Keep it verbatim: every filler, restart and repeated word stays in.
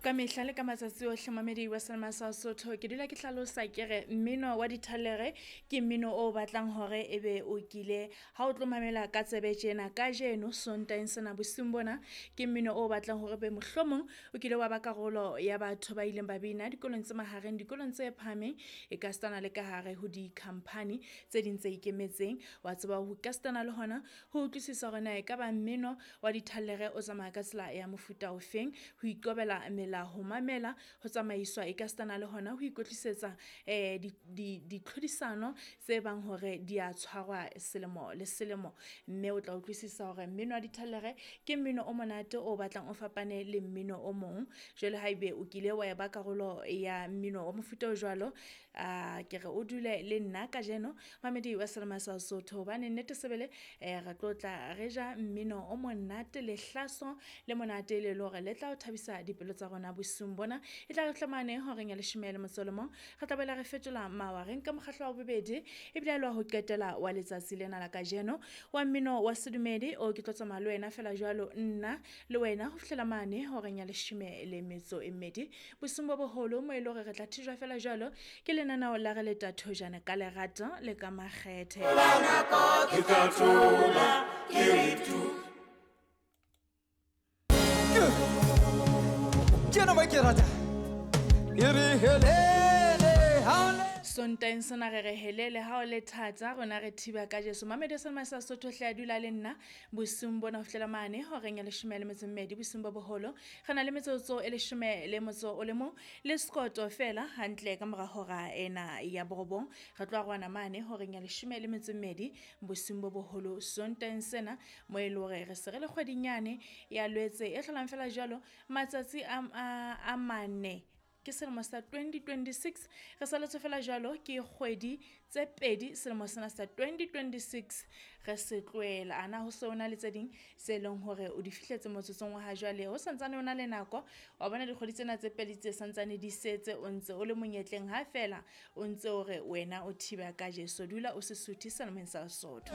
Ka mehla le ka matsatsi ohle mamedi wa Selema sa Sotho, ke dula ke hlalosa ke re mmino wa dithalere ke mmino o batlang hore ebe o kile ha o tlo mamela ka tsebe tjena kajeno Sontaheng sena bosiung bona, ke mmino o batlang hore be mohlomong o kile wa ba karolo ya batho ba ileng ba bina dikolong tse mahareng, dikolong tse phahameng, e ka sitana le ka hare ho di-company tse ding tse ikemetseng. Wa tseba ho ka sitana le hona ho utlwisisa hore na ekaba mmino wa dithalere o tsamaya ka tsela ya mofuta ofeng, ho ikobela melao, ho mamela, ho tsamaiswa e ka sitana le hona ho ikwetlisetsa eh ditlhodisano tse bang hore di a tshwarwa selemo le selemo. Mme o tla utlwisisa hore mmino wa dithalere ke mmino o monate o batlang o fapane le mmino o mong. Jwale haebe o kile wa ba karolo ya mmino wa mofuta o jwalo, a ke re o dule le nna kajeno mamedi wa Selema sa Sotho, hobane nnete sebele eh re tlo tla re ja mmino o monate, lehlaso le monate le le hore le tla o thabisa dipelo tsa rona bosiung bona. E tla re hlamane horeng ya leshome le motso o le mong, re tla boela re fetola mawa, re nka mokgahlo wa bobedi ebile le wa ho qetela wa letsatsi lena la kajeno wa mmino wa sedumedi o ke tlo tsamaya le wena fela jwalo nna le wena ho fihlela mane horeng ya leshome le metso e mmedi bosiung bo boholo, mo e le hore re tla thijwa fela jwalo ke lenaneo la re le tathojana ka lerato le ka makgethe. Ke tla thola ke re tu. Ke ena mo ke rata. E re helele ha o le Sontaheng sena re re helele ha o le thata, rona re thiba ka Jesu. Mamedi wa Selema sa Sotho hle a dula le nna bosiung bona ho fihlela mane horeng ya leshome le metso e mmedi bosiung bo boholo. Re na le metsotso e leshome le motso o le mong le sekoto fela hantle ka mora hora ena ya borobong. Re tlo arohana mane horeng ya leshome le metso e mmedi bosiung bo boholo Sontaheng sena, mo e le hore re se re le kgwedinyane ya Lwetse e hlolang fela jwalo matsatsi a, a, a mane ke selemo sa twenty twenty-six. Re saletswe fela jwalo ke kgwedi tse pedi selemo sena sa twenty twenty-six re se tlohela. Ana ho se ho na le tse ding tse leng hore o di fihletse motsotsong wa ha jwale, ho santsane ho na le nako. Wa bona dikgwedi tsena tse pedi tse santsane di setse, o ntse o le monyetleng ha fela o ntse o re wena o thiba ka Jesu. Dula o se suthe selemeng sa Lesotho.